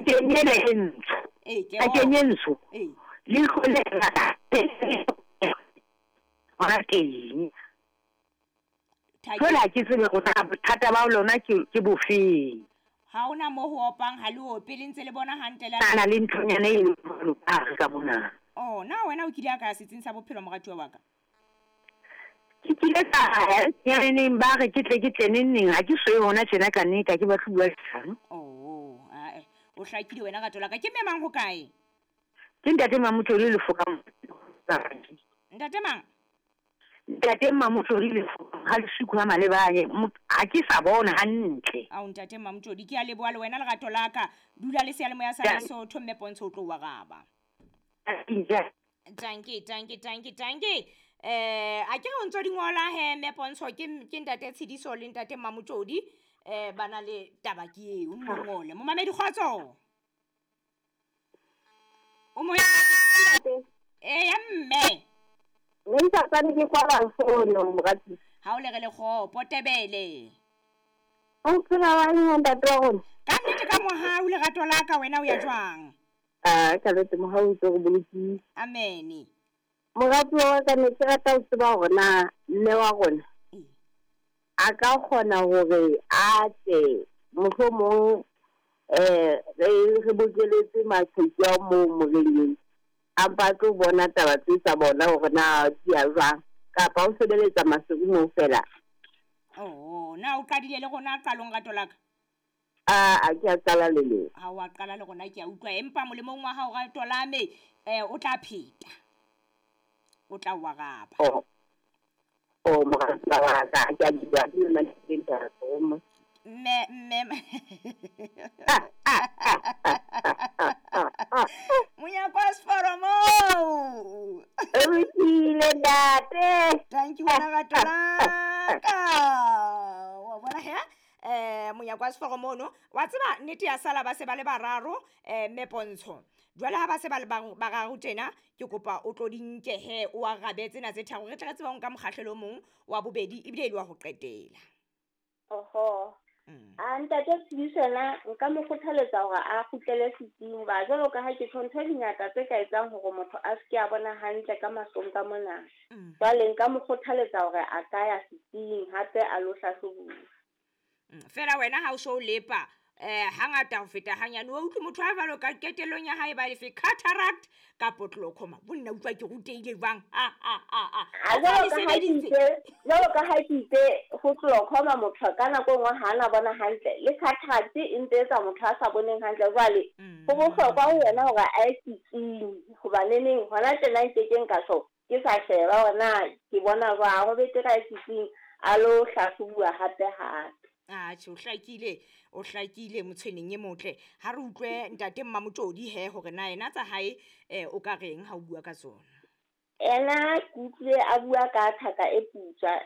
Thakeng ena e ntsho. Ee, ke Thakeng e ntsho. Ee. Leihlo le la hona teng. Thakeng. Jwale ha ke tsebe hore na bothata ba lona ke bofeng. Ha hona mo ho opang, ha le ope, le ntse le bona hantle la. Na le nthonyana e leng jwalo ka hare ka mona. Oh, na wena o kile a ka ya setsing sa bophelo moratuwa wa ka? Ke kile ka ya neng ba re ke tle ke tle neng neng, ha ke so ye hona tjena ka nnete, ha ke batle ho bua leshano. Oh, ae, o hlakile wena rato la ka. Ke mme mang ho kae? Ke ntate Mamotloli Lefokang. Ntate mang? Ntate Mamotloli Lefokang, ha Lesiko ha Malebanye, ha ke sa bona hantle. Ao ntate Mamotloli, ke a leboha le wena lerato la ka. Dula le seyalemoya sa Lesotho mme Pontsho o tlo o araba. Tanki, tanki, tanki, tanki. A ke re o ntso di ngola he mme Pontsho, ke ntate Tshidiso le ntate Mamotloli. Ba na le taba ke eo, o nno ngole. Momamedi kgotso. O moya. Ee, ya mme. Ne ntatsane ke kwala fono morati. Ha o le re le kgopo Tebele. O phela wa eng ntate wa rona? Ka nnete ka mohau lerato la ka wena o ya jwang? Ah, ka lete mohau o tlo re bolokile. Amen. Morati wa ka ne ke rata ho tseba hore na mme wa rona a ka kgona hore a tle mohlomong re bokeletse maqheku a moo moreneng, a mpa tlo bona taba tse tsa bona hore na di ya jwang, kapa o sebeletsa Maseru moo fela. Oh, na o qadile le rona qalong rato la ka? A ke a qala le lona. Ha o a qala le rona ke a utlwa, empa molemong wa hao rato la me, o tla pheta. O tla o araba. Oh. Oh, moratuwa wa ka, ke a bua ke yona ke ntate mo. Mme, mme. Monyako wa seforo moo. O lokile ntate. Thank you wena rato la ka. Wa bona he? Monyako wa seforo mono. Wa tseba nnete ya sala ba se ba le bararo, mme Pontsho. Jwale ha ba se ba le bararo tjena, ke kopa o tlo di nke he, o arabe tsena tse tharo. Re tle re tsebe ho nka mokgahlelo o mong wa bobedi ebile e le wa ho qetela. Oho. A ntate Tshidiso yena nka mo kgothaletsa hore a kgutlele setsing, hoba jwalo ka ha ke tjho ntho di ngata tse ka etsang hore motho a se ke a bona hantle ka mahlong ka mona. Jwale nka mo kgothaletsa hore a ka ya setsing hape a lo hlahlobuwa. Fela wena ha o so lepa hangata ho feta hanyane, o utlwe motho a jwalo ka qetellong ya hae ba lefe cataract kapo glaucoma. Bonna utlwa ke rutehile jwang? A a a a. Jwalo ka ha ke itse ho glaucoma motho ka nako e nngwe ha ana bona hantle, le cataract e ntse etsa motho a sa boneng hantle. Jwale ho bohlokwa ho yena hore a ye setsing, hoba neneng hona tjena nke ke nka tjho ke sa sheba hore na ke bona jwang. Ho betere a ye setsing a lo hlahlobuwa hape hape. Atjhe, o hlakile motshweneng e motle. Ha re utlwe ntate Mmamotlodi he hore na yena tsa hae o ka reng ha o bua ka tsona. Ena ke utlwile a bua ka thaka e putswa,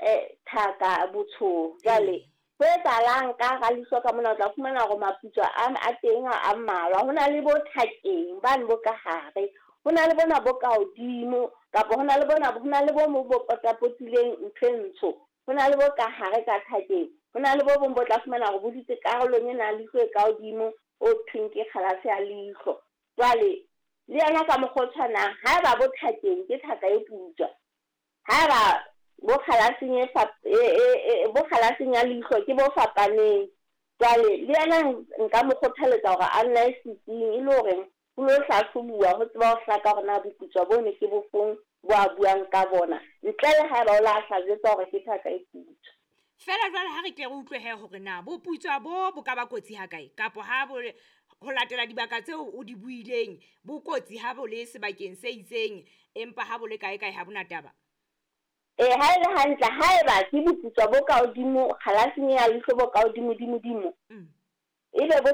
thaka botsho. Jwale ho etsahalang ka hara leihlo ka mona, o tla fumana hore maputswa a teng a mmalwa. Ho na le bo thakeng bane bo ka hare, ho na le bona bo ka hodimo, kapa ho na le bona, ho na le bo mo bo potapotileng ntho e ntsho, ho na le bo ka hare ka thakeng, ho na le bo bong bo tla fumana hore bo dutse karolong e nang leihlo e ka hodimo, o thweng ke kgalase ya leihlo. Jwale le yona ka mokgwa o tshwanang, haeba bo thakeng ke thaka e putswa, haeba bo kgalaseng bo kgalaseng ya leihlo ke bo fapaneng. Jwale le yena nka mo kgothaletsa hore a nne a ye setsing, e le hore ho lo hlahlobuwa ho tseba ho hlaka hore na boputswa bo ne ke bofeng bo a buang ka bona, ntle le haeba o la hla jwetsa hore ke thaka e putswa. Fela jwale ha re tle re utlwe he hore na boputswa bo ka ba kotsi ha kae, kapa ha bo ho latela dibaka tseo o di buileng bo kotsi ha bo le sebakeng se itseng, empa ha bo le kae kae ha bona taba. Ha e le hantle, haeba ke boputswa bo ka hodimo, kgalaseng ya leihlo bo ka hodimo dimo dimo, ebe bo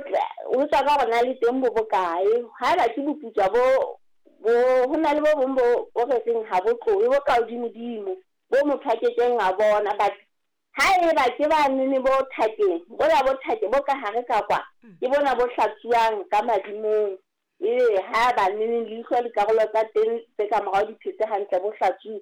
ho tswa ka hore na le teng bo bokae. Haeba ke boputswa bo ho na le bo bong bo re reng ha bo tlohe, bo ka hodimo dimo, bo motho a kekeng a bona. But haeba ke ba nene bo thakeng, bona bo thake bo ka hare ka kwa, ke bona bo hlatsuwang ka madimong. Ebe ha ba nene leihlo dikarolo tsa teng tse ka morao di phetse hantle, bo hlatsuwe.